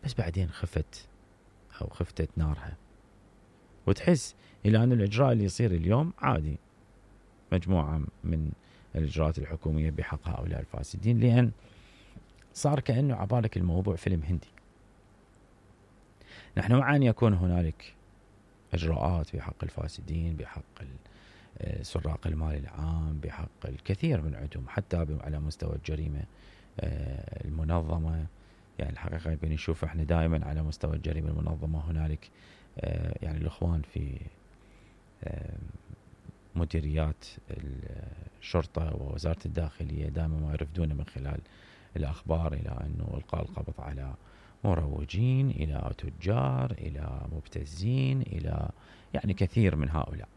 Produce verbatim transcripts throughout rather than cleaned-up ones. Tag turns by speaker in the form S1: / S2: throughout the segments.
S1: بس بعدين خفت أو خفتت نارها، وتحس إلى أن الإجراء اللي يصير اليوم عادي، مجموعة من الإجراءات الحكومية بحق هؤلاء الفاسدين، لأن صار كأنه عبالك الموضوع فيلم هندي. نحن مع أن يكون هنالك إجراءات بحق الفاسدين، بحق سراق المال العام، بحق الكثير من عندهم، حتى على مستوى الجريمة المنظمة. يعني الحقيقة بنشوف احنا دائما على مستوى الجريمة المنظمة هنالك يعني الإخوان في مديريات الشرطة ووزارة الداخلية دائما ما يرفدون من خلال الأخبار إلى أنه إلقاء القبض على مروجين، إلى تجار، إلى مبتزين، إلى يعني كثير من هؤلاء.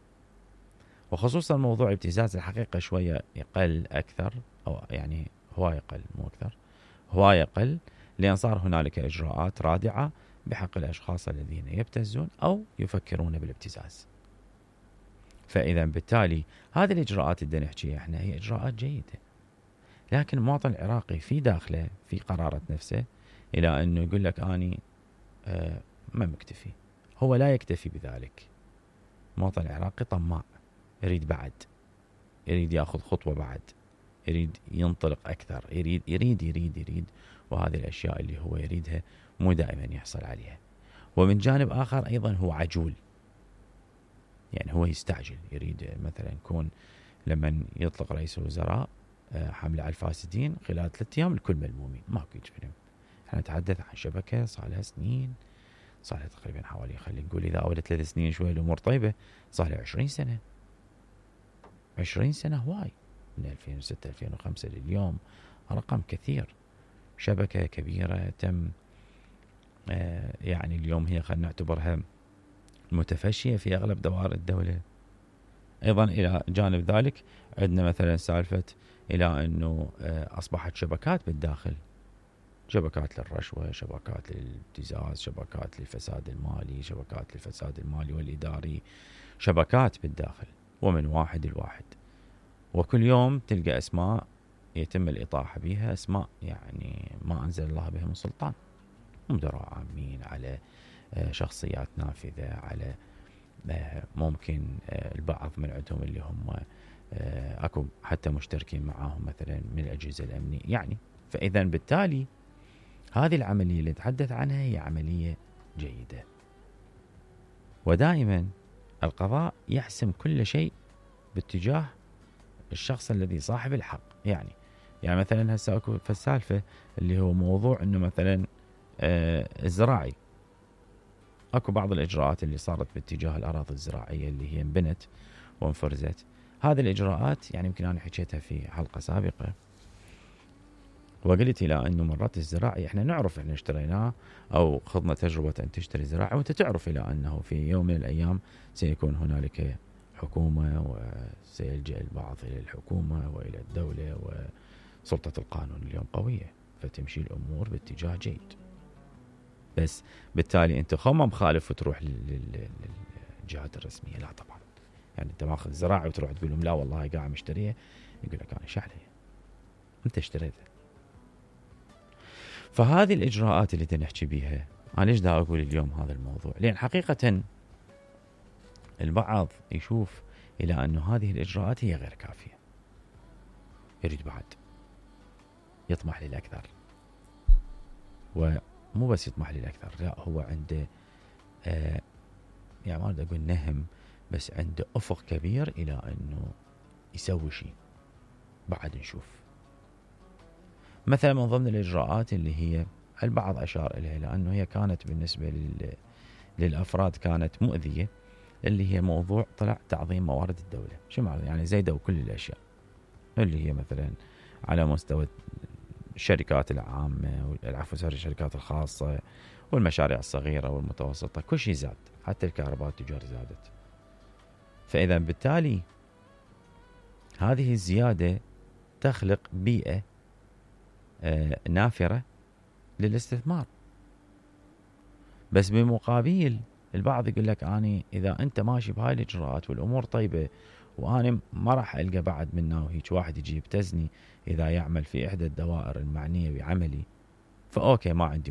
S1: وخصوصا موضوع ابتزاز الحقيقة شوية يقل أكثر، أو يعني هواية يقل مو أكثر، هواية يقل، لأن صار هنالك إجراءات رادعة بحق الأشخاص الذين يبتزون أو يفكرون بالابتزاز. فإذا بالتالي هذه الإجراءات اللي نحكيها احنا هي إجراءات جيدة، لكن المواطن العراقي في داخله في قرارة نفسه إلى أنه يقول لك أني آه ما مكتفي. هو لا يكتفي بذلك. المواطن العراقي طماع، يريد بعد، يريد يأخذ خطوة بعد، يريد ينطلق أكثر، يريد يريد يريد يريد وهذه الأشياء اللي هو يريدها مو دائما يحصل عليها. ومن جانب آخر أيضا هو عجول، يعني هو يستعجل، يريد مثلا يكون لما يطلق رئيس الوزراء حملة على الفاسدين خلال ثلاثة أيام الكل ملمومين، ماكو يجفلهم. احنا نتحدث عن شبكة صار لها سنين، صار لها تقريبا حوالي، خلينا نقول إذا أول ثلاث سنين شوية الأمور طيبة، صار لها عشرين سنة. عشرين سنة هواي، من ألفين وستة ألفين وخمسة لليوم رقم كثير. شبكة كبيرة تم آه يعني اليوم هي خلينا نعتبرها متفشية في أغلب دوائر الدولة. أيضا إلى جانب ذلك عندنا مثلا سالفة إلى أنه آه أصبحت شبكات بالداخل، شبكات للرشوة، شبكات للابتزاز، شبكات للفساد المالي، شبكات للفساد المالي والإداري، شبكات بالداخل ومن واحد الواحد. وكل يوم تلقى أسماء يتم الإطاحة بها، أسماء يعني ما أنزل الله بها من سلطان، مدراء عامين، على شخصيات نافذة، على ممكن البعض من عندهم اللي هم أكو حتى مشتركين معاهم مثلا من الأجهزة الأمنية يعني. فإذا بالتالي هذه العملية اللي نتحدث عنها هي عملية جيدة، ودائما القضاء يحسم كل شيء باتجاه الشخص الذي صاحب الحق. يعني يعني مثلا هسه اكو فالسالفة اللي هو موضوع انه مثلا آه الزراعي، اكو بعض الاجراءات اللي صارت باتجاه الاراضي الزراعية اللي هي انبنت وانفرزت. هذه الاجراءات يعني يمكن انا حكيتها في حلقة سابقة، وقلت الى انه مرات الزراعي احنا نعرف احنا اشتريناه او خضنا تجربة ان تشتري زراعي، وانت تعرف الى انه في يوم من الايام سيكون هنالك حكومة وسيلجأ البعض إلى الحكومة وإلى الدولة، وسلطة القانون اليوم قوية فتمشي الأمور باتجاه جيد. بس بالتالي أنت خما مخالف وتروح للجهات الرسمية، لا طبعا. يعني أنت ماخذ زراعي وتروح تقول لهم لا والله قاعد مشتريه، يقول لك أنا شحلي أنت اشتريته. فهذه الإجراءات اللي تنحكي بيها، أنا ليش دا أقول اليوم هذا الموضوع؟ لأن حقيقة البعض يشوف إلى أن هذه الإجراءات هي غير كافية، يريد بعد، يطمح للأكثر. ومو بس يطمح للأكثر، لا هو عنده آه يعني ما أريد أقول نهم، بس عنده أفق كبير إلى أنه يسوي شيء بعد. نشوف مثلا من ضمن الإجراءات اللي هي البعض أشار إليها لأنه هي كانت بالنسبة للأفراد كانت مؤذية، اللي هي موضوع طلع تعظيم موارد الدولة. شو معنى؟ يعني زيدوا كل الأشياء اللي هي مثلا على مستوى الشركات العامة، والعفو الشركات الخاصة والمشاريع الصغيرة والمتوسطة، كل شيء زاد، حتى الكهرباء التجار زادت. فإذا بالتالي هذه الزيادة تخلق بيئة آه نافرة للاستثمار. بس بمقابل البعض يقول لك أني إذا أنت ماشي بهاي الإجراءات والأمور طيبة، وأنا ما راح ألقى بعد منه وهيك واحد يجي يبتزني إذا يعمل في إحدى الدوائر المعنية بعملي، فأوكي ما عندي